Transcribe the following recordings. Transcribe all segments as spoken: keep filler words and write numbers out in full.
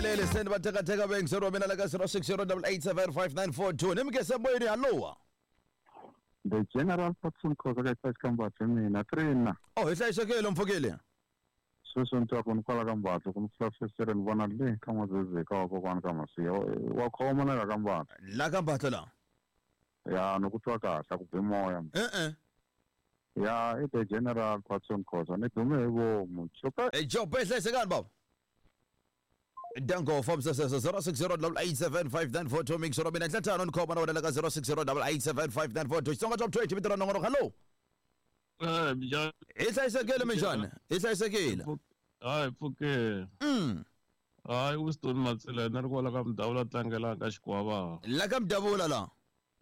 humeleli send va tekateka vayingiseri wa mina la ka zero six zero double eight seven five nine four two ni mi moyeni hallowa The General Patson Khoza ka Xi Kambatho mina trina oh hi hlayisekile mpfukile sweswi ni twa ku ni kwala ka Mbatlo ku ni flasesere ni vona le ka N'wazezeka wa kokwana ka Masiya wa khoma na la ka Mbatlo la ka Mbatlo la ya ni ku twa kahle ku bi moya e-e ya i the General Patson Khoza ni dume hi vomu chope e jope hlayisekani baba Danko from zero six zero double eight seven five nine four two mix mina ntlhanu ni khoma na wena la ka zero six zero double eight seven five nine four two Xitsonga top twenty vito ra nongonoko hello eh minjhani hi hlayisekile minjhani hi hlayisekile hayi pfuke mm hayi Winston Matsila na ri kwala ka Mdavula tlangela ka Xikwavava la ka Mdavula la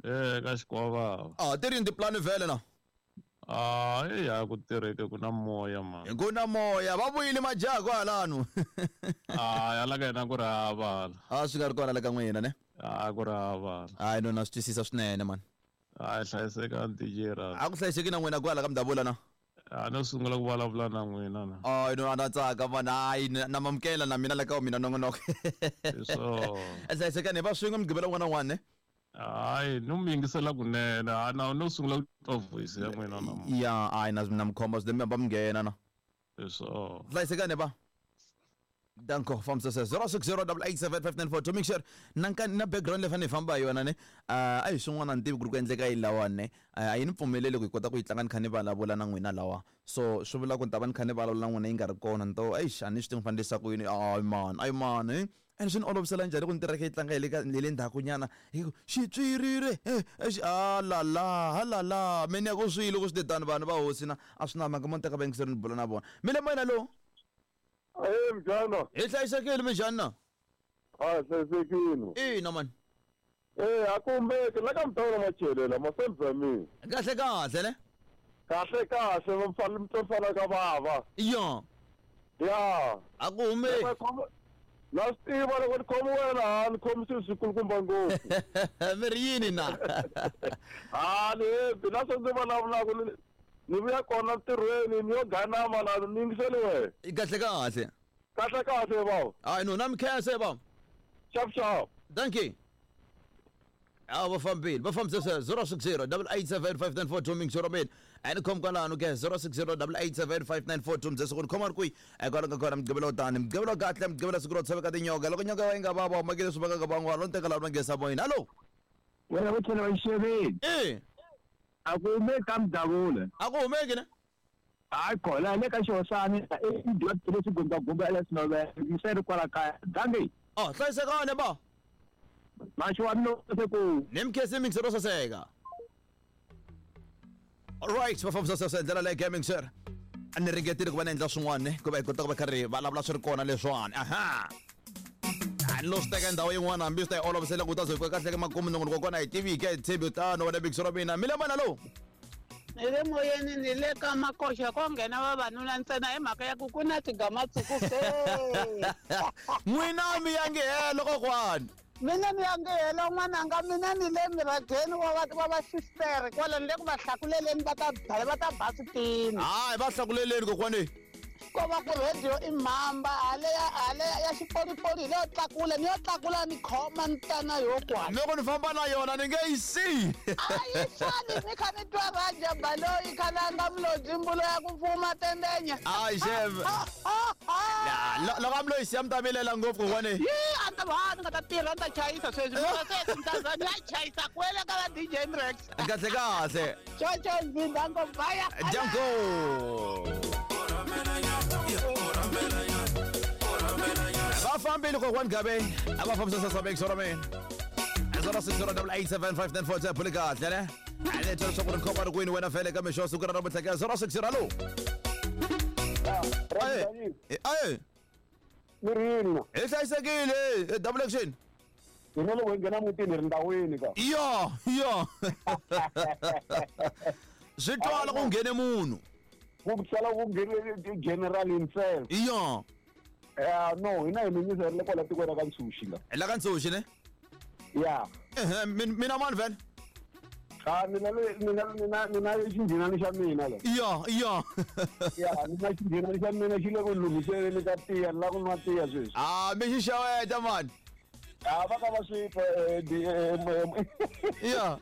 eh ka Xikwavava ah ti ri tiplan vhele na ah ya ku tirheke ku na moya man ku na moya va vuyile majaha kwalano ah ya la ka yena ku ri hava a swi nga ri kona la ka n'wina ne a ku ri hava hayi no na swi twisisa swinene man a hlayiseka D J ra a ku hlayiseki na n'wina kwala ka Mdavula na a no sungula ku vulavula na n'wina na ay no ana tsaka man hayi na mamukela na mina la ka mina nongonoko so hlayisekani va swin'we mugqivela wun'wana na wun'wana ne hayi no mi yingisela kunene a na no sungula ku twa voice ya n'wina na ya hayi na na mikhomba swi va mi nghena na so hlayisekani va Danko from zero six zero double eight seven five nine four two make sure na na background leyi fanele hi famba hi yona ne a hi swin'wana ni tivi ku ri ku endleka yini lawani ne a yi ni pfumeleli ku hi kota ku yi tlanga ni kha ni vulavula na n'wina lawa so swi vula ku ni ta va ni kha ni vulavula na n'wina yi nga ri kona ni to eish a ni swi tivi ni fanele ku yini ay man ay man eh and swi ni olovisela njhani ku ni tirheke yi tlanga hi le ka hi le ndzhakunyana hi ku xitswirire a la la ha la la me ni ya ku swilo ku swi tetani vanhu va hosi na a swi na mhaka mo ni teka vayingiseri ni bula na vona mi le moyeni lowu Eh mjana hi hlayisekile minjhani na ah hlayisekile ina man eh akumbeke la ka Mdavula machelela masenzamini kahle kahle ne kahle kahle va mfana mfana ka bava ya ya a ku humeki na swi tiva loko ni khomi wena ni khomi swilo swikulukumba ngopfu mi ri yini na a ni hembi na swo ndzi vulavulaka ni vuya kona ntirhweni ni yo ganama na ni yingiseli wena kahle kahle kahle kahle bava hayi no na mi khensa bava xap xap thank you a va fambile va fambisa zero six zero double eight seven five nine four two mixero mina a ni khomi kwalano ke zero six zero double eight seven five nine four two mdzese ku ni khoma ri kwihi kwalo ka kona mugqivela wo tani mugqivela kahle mugqivela siku ro tshoveka tinyoka loko nyoka yi nga vava humakile swi vaka ka van'wana lo ni teka laha va nghesa moyeni hallo wena va tlhela va yi xeveni e a ku humeki ka Mdavula a ku humeki ne hayi kona le ka Xihosani i dya leswi gumbagumba leswinovela se ri kwala kaya dangi oh hlayisekani ba maxi wa mina se ku ni mkhesi mixer ro saseka alright va fambisa sasa ndlela leyi gaming sir a ni ringetile ku va ni endla swin'wana ku va hi kota ku va karhi vulavula swi ri kona leswiwani aha a ni lo swi teka ndhawu yin'wana hambi swi ta yi olovisela ku ta ze fika kahle ka makumu nongonoko kona hi tivi ke hi tshembi tano wena mixer wa mina mi le mana lowu ni le moyeni ni le ka makoxa ko nghena vavanuna ntsena hi mhaka ya ku ku na tigamatsuku se n'wina mi ya nge helo kokwani mina ni ya nge helo n'wananga mina ni le mirageni wa va wa va sistere kwala ni le ku va hlakuleleni va ta va ta ba switini hayi va hlakuleleni kokwani ko va ku radio i mhamba hale ya hale ya xipolipoli hi leyo tlakula ni yo tlakula ni khoma ni ta na yo kwala loko ni famba na yona ni nge yi siyi a yi sali ni kha ni twa raja baloyi khalanga mlodzi mbulo ya ku fuma tendenya hayi xeve loko a mi loyi siya mi ta vilela ngopfu kokwani yi a ta va ni nga ta tirha ni ta chayisa sweswi mara sweswi ni ta za ni ya chayisa kwele ka va D J Mrex kahle kahle chocho nzindango baya jango va fambile kokwani gabe a va fambisa sasa mixer wa mina zero six zero double eight seven five nine four two phuli kahle ne a ni twa leswaku ri khoma ri kwini wena fele ka mixo siku ra namuntlha ka zero six zero hallo aye mi ri yini hi hlayisekile double action hina loko hi nghena mutini hi ri ndhawini ka yo yo swi twala ku nghene munhu ku sala ku nghene general himself yo eh no hina hi minyiserile le kwala tikweni ra ka Ntshuxi la la ka Ntshuxi ne ya ehe mina mani vhele Ah mina le mina mina mina xinghinani xa mina le. Ya ya. Ya mina xinghinani xa mina xi le ku lunghiseleni ka tiya ni la ku nwa tiya sweswi. Ah mi xi xeweta man. Ah va ka va swi twa Ya.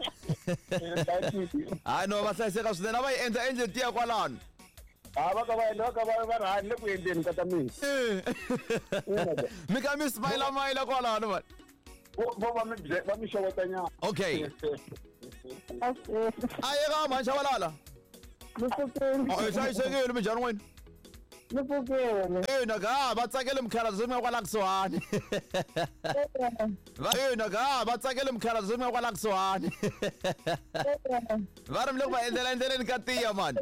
Hayi no va hlayiseka swinene a va yi endla endle tiya kwalano. Ah va ka va endla va ka va va ri hani le ku endleni ka ta mina. Mi ka mi smile mayila kwalano man. Vo va mi va mi xewetanyana. Okay. Aye ka mhani Shabalala. Ni pfukile. Oh hlayisekile minjhani n'wina? Ni pfukile. Ina ka va tsakele mukhalabye se mi nga kwala kusuhani. Va ina ka va tsakele mukhalabye se mi nga kwala kusuhani. Va ri mi le ku va endlela endleleni ka tiya man.